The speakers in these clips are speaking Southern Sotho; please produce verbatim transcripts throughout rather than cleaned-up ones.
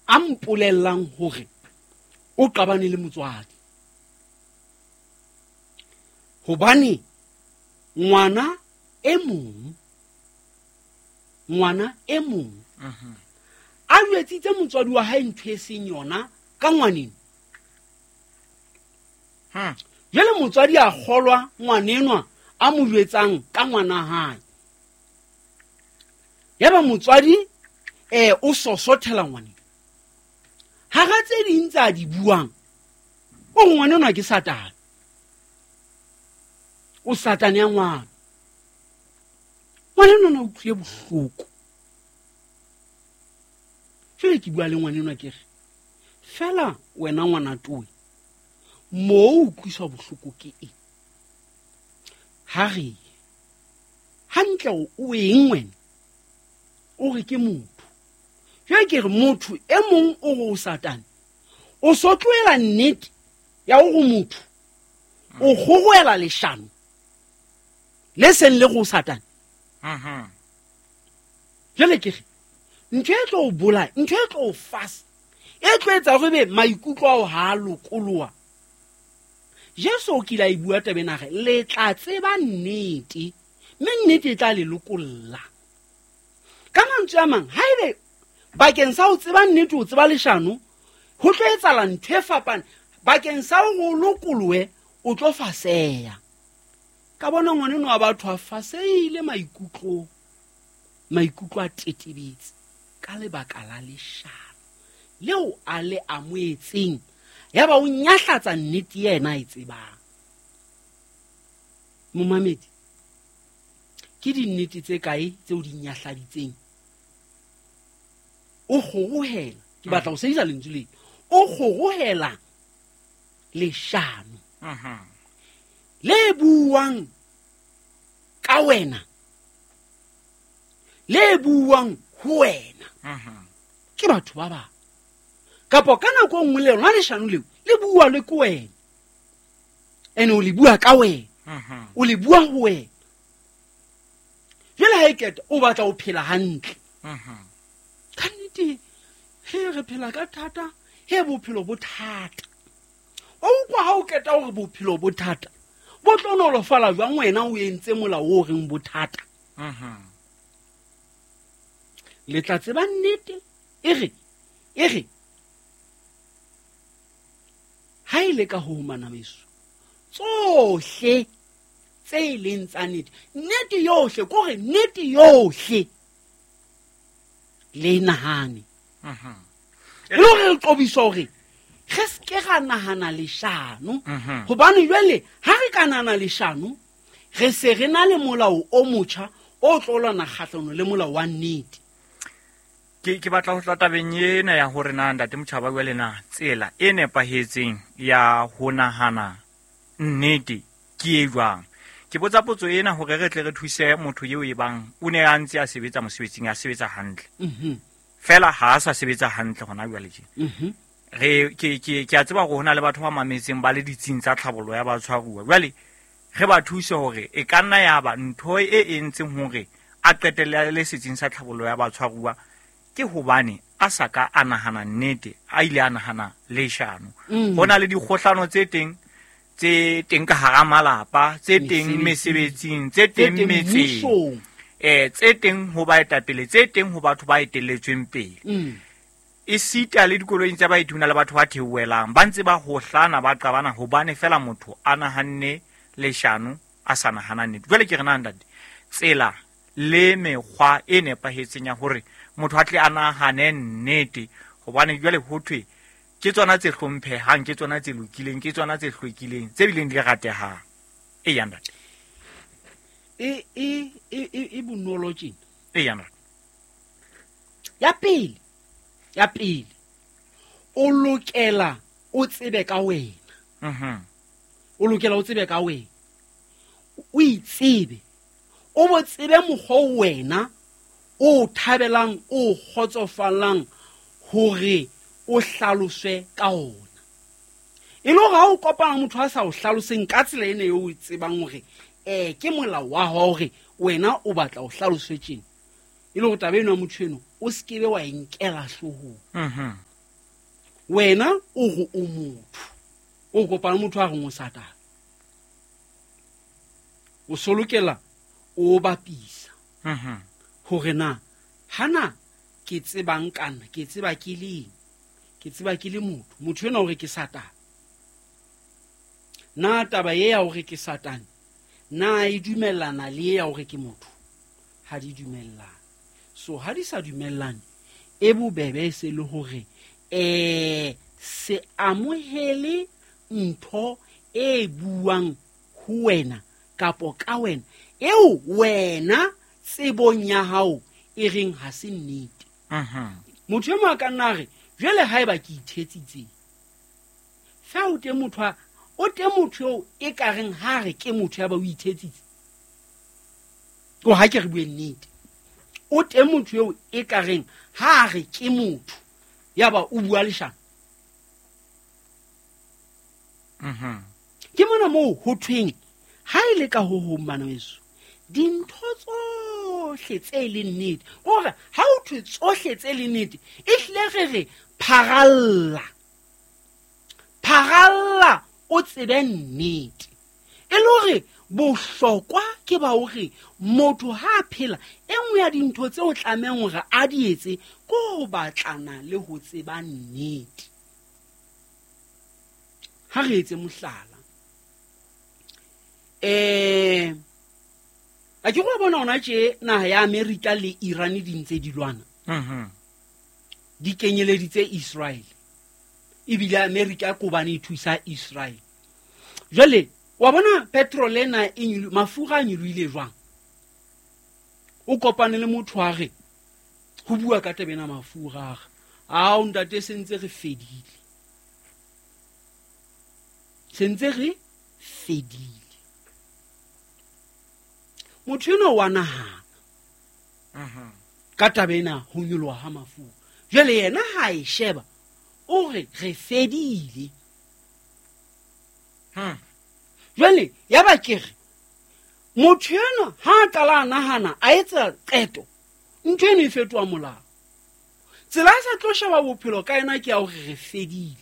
A mpolellang hore o qabane le motswadi. Hobane ngwana e mong, ngwana e mong a jwetsitse motswadi wa hae ntho e seng yona ka ngwaneno. Hmm. Jwale motswadi a kgolwa ngwanenwa a mo jwetsang ka ngwana hae. Yaba motswadi eh o sosothela ngwaneno. Hara tse ding tsa di buang, o re ngwanenwa ke Satane. O Satane ya ngwana. Ngwanenwa na utlwile bohloko. Jwale ke bua le ngwanenwa ke re, fela wena ngwana towe, moo o utlwiswa bohloko ke eng? Ha re hantle o eng wena? O re ke motho. Jwale ke re motho e mong o re o Satane. O so tlohela nnete ya hore motho o kgoroela leshano le seng le go Satane. Mhm. Jwale ke re ntho e tlo o bolaya, ntho e tlo o fasa, e tlo etsa hore be maikutlo ao ha a lokoloha. Jesu o kile a e bua taba ena, a re, le tla tseba nnete, mme nnete e tla le lokolla. Ka mantswe a mang, haebe bakeng sa ho tseba nnete o tseba leshano, ho tlo etsahala ntho e fapane. Bakeng sa hore o lokolohe, o tlo faseha. Ka bona ngwaneno wa batho a fasehile maikutlong, maikutlo a tetebetse ka lebaka la leshano leo a le amohetseng. Yaba o nyahlatsa nnete yena a e tsebang. Momamedi, ke dinnete tse kae tseo di nyahladitseng? O kgorohela, ke batla ho sebedisa lentswe lena, o kgorohela leshano Mhm. le buang ka wena, le buang ho wena. Mhm. Ke batho ba bang. Kapa ka nako e nngwe le lona leshano leo le bua le ke wena, ene o le bua ka wena, Mhm. o le bua ho wena. Jwale ha e keta o batla ho phela hantle. Mhm. Ka nnete, he re phela ka thata, he bophelo bo thata. O utlwa ha o keta hore bophelo bo thata, bo tlo nolofala jwang wena o entse molao o reng bo thata? Mhm. Le tla tseba nnete, e re, e re, ha e le ka ho humana meso, tsohle tse e leng tsa nnete, nnete yohle, ke hore nnete yohle le nahane. Mhm. E le hore re qobiswa hore re se ke ra nahana leshano. Mhm. Hobane jwale ha re ka nahana leshano, re se re na le molao o motjha o tlo lwana kgahlano le molao wa nnete. Ke, ke batla ho tla tabeng ena ya hore na ntate Motjhaba jwale na tsela e nepahetseng ya ho nahana nnete ke e jwang? Ke botsa potso ena hore re tle re thuse motho eo e bang o ne a ntse a sebetsa mosebetsing, a sebetsa hantle. Mhm. Fela ha a sa sebetsa hantle hona jwale tje. Mhm. Re, ke, ke, ke a tseba hore ho na le batho ba mametseng ba le ditsing tsa tlhabollo ya batshwaruwa. Jwale re ba thuse hore e ka nna ya ba ntho e entseng hore a qetelle a le setsing sa tlhabollo ya batshwaruwa ke hobane a sa ka a nahana nnete, a ile a nahana leshano. Mm. Ho na le dikgohlano tse teng, tse teng ka hara malapa, tse teng Mesebetsing. mesebetsing, tse Tse teng teng metseng. mmusong. Eh, tse teng ho baetapele, tse teng ho batho ba etelletsweng pele. Mm. Esita le dikoloing tsa baeti ho na le batho ba theohelang, ba ntse ba hohlana, ba qabana hobane fela motho a nahanne leshano, a sa nahana nnete. Jwale ke re na ntate, tsela le mekgwa e nepahetseng ya hore motho a tle a nahane nnete, hobane jwale ho thwe ke tsona tse hlomphehang, ke tsona tse lokileng, ke tsona tse hlwekileng, tse bileng di ratehang. Eya ntate. E, e, e, e, e bonolo tjena. Eya ntate. Ya pele, ya pele, o lokela o tsebe ka wena. Mhm. O lokela o tsebe ka wena. O itsebe. O bo tsebe mokgwa o wena o thabelang, o kgotsofallang hore o hlaloswe ka ona. E le hore ha o kopana motho a sa o hlaloseng ka tsela ena eo o e tsebang hore, eh, ke molao wa hao hore wena o batla o hlaloswe tjena. E le hore taba eno ya motho eno o se ke be wa e nkela hloohong. Mhm. Wena o re o motho, o kopana motho a reng o Satane, o solokela o bapisa Mhm. hore na hana ke tsebang kana ke tseba ke leng, ke tseba ke le motho, motho ena o re ke Satane. Na taba e ya hore ke Satane na e dumellana le ya hore ke motho? Ha di dumellane. So ha di sa dumellane, e bobebe se le hore eh se amohele ntho e buang ho wena kapo ka wena eo wena tsebong ya hao e reng ha se nnete. Mhm. Motho e mong a ka nna a re jwale haeba ke ithetsitse, fa o teng motho a, o teng motho eo e ka reng ha re ke motho ya ba o ithetsitse, o ha ke re bue nnete, o teng motho eo e ka reng ha re ke motho ya ba o bua leshano. Mhm. Ke mona moo ho thweng ha e le ka ho hong bana beso, dintho tsohle tse leng nnete, hore ha o thwe tsohle tse leng nnete, e hlile re re pharalla, pharalla o tsebe nnete. E le hore bohlokwa ke ba hore motho ha a phela, e nngwe ya dintho tse o tlamehang hore a di etse ke ho batlana le ho tseba nnete. Ha re etse mohlala, eh a ke go bona hona tje naha ya Amerika le Iran di ntse di lwana. Mhm. Di kenyeleditse Israel. Ebile Amerika ko bane e thusa Israel. Jwale wa bona petrol ena e nyolo-, mafura a nyolohile jwang? O kopane le motho a re ho bua ka taba ena mafura a re, ao ntate se ntse re fedile, se ntse re fedile. Motho enwa wa nahana Mhm. ka taba ena ho nyoloha ha mafura. Jwale yena ha e sheba o re re fedile. Hmm. Jwale ya ba ke re motho enwa ha a qala a nahana a etsa qeto, ntho eno e fetoha molao. Tsela a sa tlo sheba bophelo ka yena ke ya hore re fedile.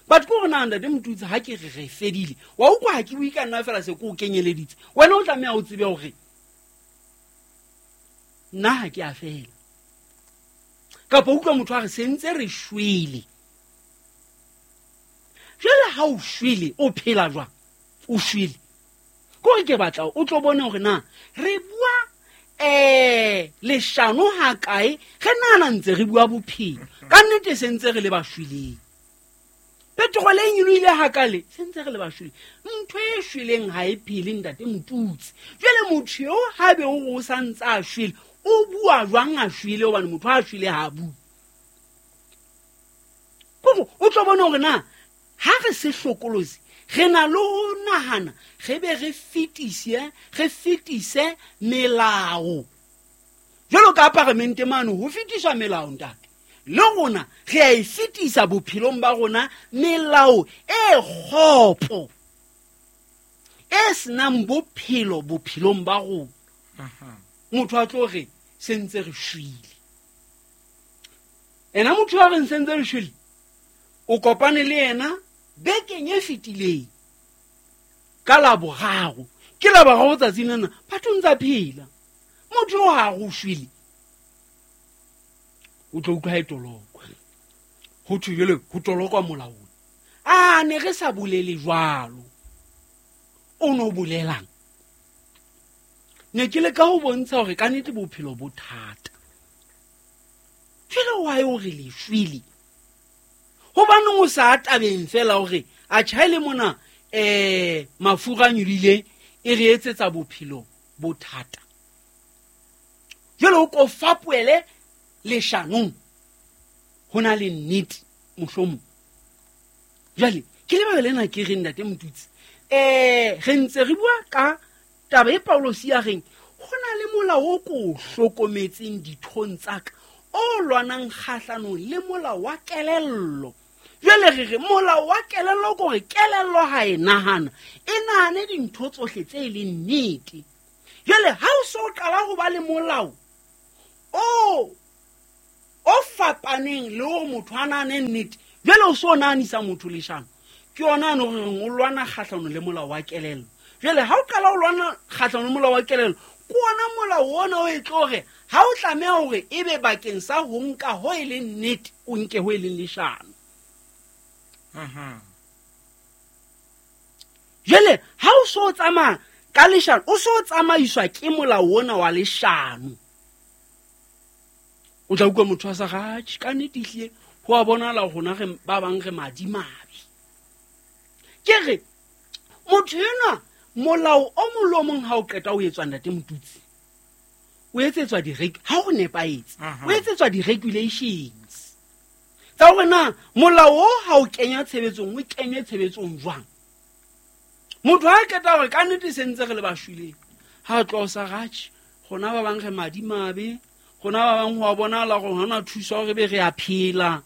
But ke hore na ntate Motutsi ha ke re re fedile, wa utlwa ha ke bue ka nna fela se ke o kenyeleditse. Wena o tlameha o tsebe hore nna ha ke a fela. Kapa utlwa motho a re se ntse re shwele. Jwale ha o shwele o phela jwang? O shwele. Ke hore ke batla o tlo bone hore na re bua eh leshano ha kae, re nahana ntse re bua bophelo. Ka nnete se ntse re le ba shweleng. Petrol e nyolohile hakale, se ntse re le ba shweleng. Ntho e shweleng ha e phele ntate Motutsi. Jwale motho eo ha be o re o sa ntse a shwele, o bua jwang a shwele? Hobane motho ha a shwele ha a bue. Kore o tlo bona hore na ha re se hlokolosi, re na le ho nahana, re be re fetise, re fetise melao. Jwalo ka paramente mane ho fetiswa melao ntate. Le rona re a e fetisa bophelong ba rona melao e kgopo, e senang bophelo bophelong ba rona. Motho a tlo re se ntse re shwele. Ena motho a reng se ntse re shwele, o kopane le yena bekeng e fetileng ka Laboraro. Ke Laboraro tsatsing lena, batho ntse a phela. Motho o ha re o shwele, o tlo utlwa ha e tolokwa. Ho thwe jwale ho tolokwa molaong. A ne re sa bolele jwalo. O no bolelang? Ne ke leka ho bontsha hore ka nnete bophelo bo thata. Jwale wa yo re le shwele? Hobaneng o sa tabeng fela hore a tjhaele mona, eh, mafura a nyolohile e re etsetsa bophelo bo thata. Jwale o ko fapohele leshanong, ho na le nnete mohlomong. Jwale ke lebaka lena ke reng ntate Motutsi, eh, re ntse re bua ka taba e Paulosi ya reng ho na le molao o ko o hlokometseng dithong tsa ka, o lwanang kgahlanong le molao wa kelello. Jwale re re molao wa kelello ke hore kelello ha e nahana, e nahane dintho tsohle tse leng nnete. Jwale ha o so qala ho ba le molao o, o fapaneng le hore motho a nahane nnete, Jwale o so nahanisa motho leshano ke yona ano reng o lwana kgahlano le molao wa kelello. Jwale ha o qala o lwana kgahlano le molao wa kelello, ke ona molao ona o e tlo hore ha o tlameha hore ebe bakeng sa ho nka ho e leng nnete, o nke ho e leng leshano. Mhm. Jwale ha o so tsamaya ka leshano, o so tsamaiswa ke molao ona wa leshano. O tla utlwa motho a sa ratjhe, ka nnete ehlile ho a bonahala rona re ba bang re madimabe. Ke re motho enwa molao o mong le o mong ha o qeta o etswa ntate Motutsi, o etsetswa di ha o nepahetse, o etsetswa di-regulations tsa hore na molao o ha o kenya tshebetsong, o kenywe tshebetsong jwang. Motho ha qeta hore ka nnete se ntse re le ba shweleng, ha tloha o sa ratjhe, rona ba bang re madimabe, rona ba bang ho a bonahala hore hona thusa hore be re a phela.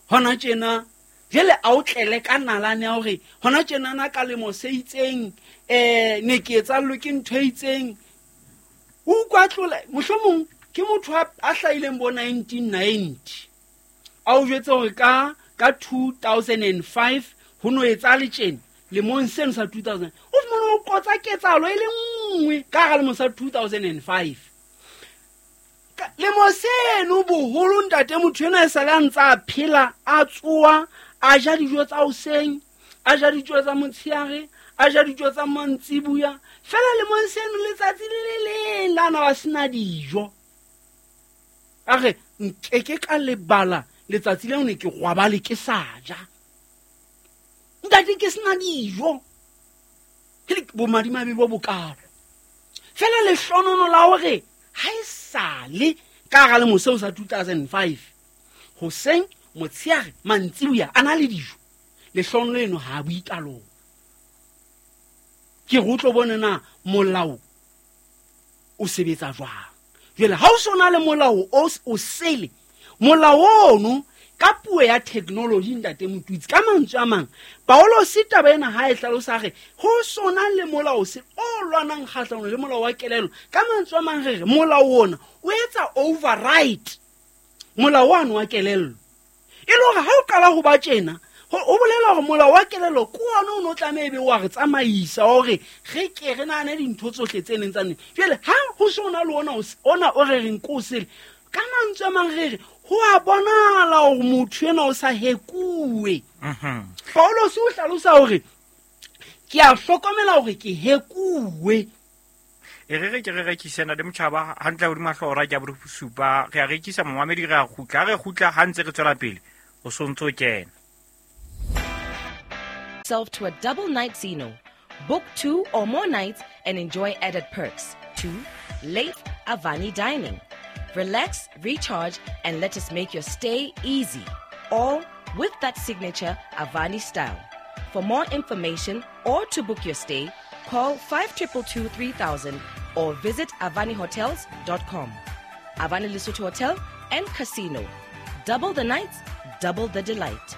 Hona tjena jwale a o tlele ka nalane ya hore hona tjenana ka lemo se itseng, eh ne ke etsallwe ke ntho e itseng. O utlwa tlola, mohlomong ke motho a, a hlahileng bo nineteen ninety. A o jwetse hore ka, ka two thousand and five ho no etsahale tjena, lemong seno sa two thousand. O fumane o qotsa ketsahalo e le nngwe ka hara lemo sa two thousand and five. Lemo seno boholo ntate motho enwa e sale a ntse a phela, a tsoha, a ja dijo tsa hoseng, a ja dijo tsa motshehare, a ja dijo tsa mantsibuya. Feela lemong seno letsatsi le le leng la na ba sena dijo. A re nkeke ka lebala letsatsi leo ne ke rwabale ke sa ja. Ntate ke sena dijo. Ke bomadimabe bo bokalo. Feela lehlonono la hore ha e sale ka hara lemo seo sa two thousand and five, hoseng, motshehare, mantsibuya a na le dijo. Lehlonono leno ha a bue ka lona. Ke re o tlo bone na molao o sebetsa jwang. Jwale ha o so na le molao o, o sele, molao ono ka puo ya technology ntate Motutsi, ka mantswe a mang, Paulos taba ena ha e hlalosa re ho sona le molao se o lwanang kgahlano le molao wa kelello. Ka mantswe a mang re re molao ona o etsa override molao ono wa kelello. E le hore ha o qala ho ba tjena, ho bolela hore molao wa kelello ke ona o no tlameha ebe wa re tsamaisa hore re ke re nahane dintho tsohle tse neng tsa neng. Jwale ha ho sona le ona ona o re reng ko sele, ka mantswe a mang re re ho a bonahala hore motho enwa o sa hekuwe. Mhm. Paulos o hlalosa hore ke a hlokomela hore ke hekuwe. E re re ke re rekise na le motjhaba hantle hodima hlooho ra ke a bosupa, re a rekisa momamedi, re a kgutla, re kgutla ha ntse re tswela pele, o sontso kena. Self to a double night Zeno. Book two or more nights and enjoy added perks. Two, late Avani dining. Relax, recharge, and let us make your stay easy. All with that signature Avani style. For more information or to book your stay, call five two two two three thousand or visit avani hotels dot com. Avani Lesotho Hotel and Casino. Double the nights, double the delight.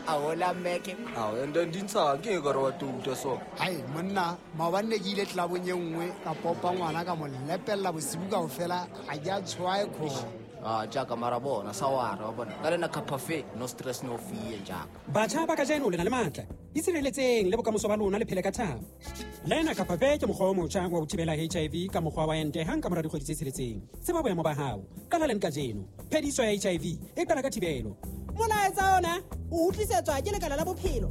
Aola meke. Ao ende ndintsha ke ka re wa tuta so. Hai monna, maobane ke ile tlabong e nngwe ka popa ngwana ka mo lepella bosibu kaofela, ha ke a tshwae kho. Ah jaaka mara bona sa wa re wa bona. Ka lena cafe no stress no fear jaaka. Batjha ba kajeno le na le matla. Itshireletseng le bokamoso ba lona le phele ka thabo. Lena Cafe ke mokgwa o motjha wa ho thibela H I V ka mokgwa wa ente hang ka mora dikgwedi tse tsheletseng. Tseba boemo ba hao. Qala leng kajeno. Phediso ya H I V e qala ka thibelo. Molaetsa ona o utlwisetswa ke Lekala la Bophelo.